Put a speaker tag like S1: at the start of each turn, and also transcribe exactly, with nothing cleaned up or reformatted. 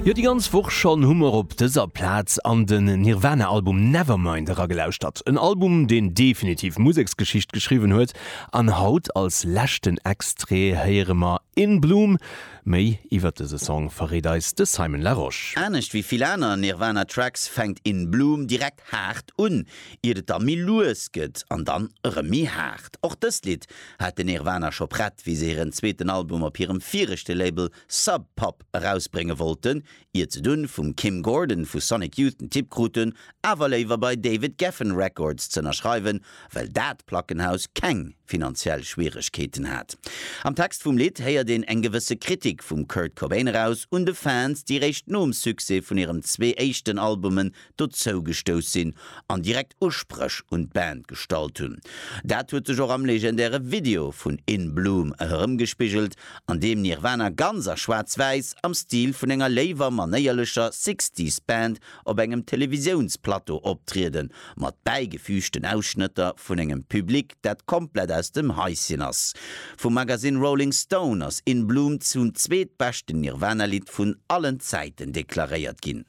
S1: Jo, déi ganz Woch schonn hu mer op dëser Plaz an den Nirvana-Album Nevermind eragelauschtert. En Album, deen definitiv Museksgeschicht geschriwwen huet. An haut als leschten Extrait héiere mer In Bloom. Méi iwwer dëse Song verréit eis de Simon Larosche.
S2: Anescht wéi vill aner Nirvana-Tracks fänkt In Bloom direkt haart un, iert et da méi lues gëtt an dann erëm méi haart. Och dëst Lidd hat den Nirvana scho prett, wéi se hiren zweeten Album op hirem viregte Label Sub Pop erausbrénge wollten, iert se dunn vum Kim Gordon vu Sonic Youth den Tipp kruten, awer léiwer bei David Geffen Records z'ënnerschreiwen, well dat Plackenhaus keng finanziell Schwieregkeeten hat. Am Text vum Lidd héiert een eng gewësse Kritik vum Kurt Cobain eraus un de Fans, déi réischt nom Succès vun hirem zwee éischten Albumen dozougestouss sinn an direkt Uspréch un d'Band gestallt hunn. Dat huet sech och am legendäre Video vun In Bloom erëmgespigelt, an deem Nirvana ganz a Schwaarz-Wäiss am Stil vun enger léiwer manéierlecher Sixties Band op engem Televisiounsplateau optrieden, mat bäigefügten Ausschnëtter vun engem Public, dat komplett aus dem Haischen ass. Vum Magazine Rolling Stone ass In Bloom zum zweetbeschten Nirvana-Lidd vun allen Zäiten deklaréiert ginn.